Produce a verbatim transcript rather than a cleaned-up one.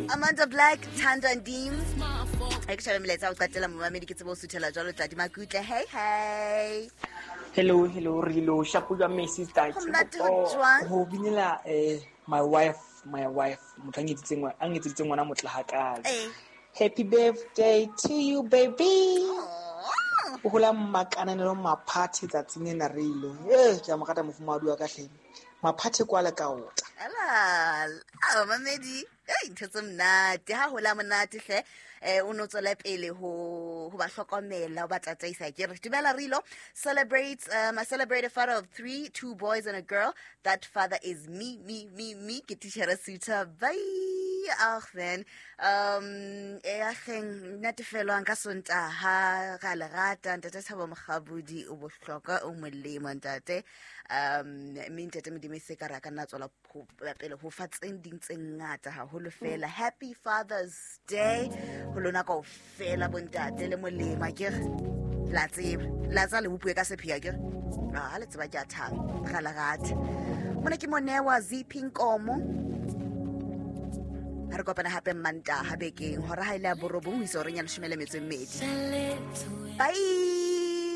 Amanda Black, Thanda Ndim. E ke shebe melaetsa o qetela momamedi ke tsebe ho suthela jwalo tladi makutle. Hey hey. Hello, hello, Rilo. Shapo jwang my sister. Ho monate ho jwang? Ho binela eh my wife, my wife, motho a nketseditseng ngwana, a nketseditseng ngwana motle hakalo. Eh. Happy birthday to you, baby. Aw. O hola makananelo maphathe tsatsing lena Rilo. Eh, ke a mo rata mofumahadi wa ka hle. Maphathe kwala ka ota. Ala, a mamedi. Ei, ntho tse monate. Ha hola monate hle. Eh, o no tswela pele ho ho ba hlokomela, ho ba tataisa. Ke re dumela Rilo celebrates, um, I celebrate a father of three, two boys and a girl. That father is me, me, me, me. Ke titjhere Suta. Bye. Ach man. Um, e ageng natefelwang ka Sontaha ra le rata ntate Thabo Mokgabudi o bohlokwa o molemo ntate. Um, mme ntate Modimo e se ka re a ka nna tswela ho pele ho fa tse ding tse ngata haholo fela. Happy Father's Day ho lona kaofela bontate le molemo akere. La tseba, la tseba le bopue ka sepheo akere. Ah, le tseba ke a thaba, ra le rata. Mona ke Monewa Z P Nkomo. Ha re kopana hape Mantaha bekeng hora ha ile ya borobong ho isa horeng ya leshome le metso e mmedi. Bye.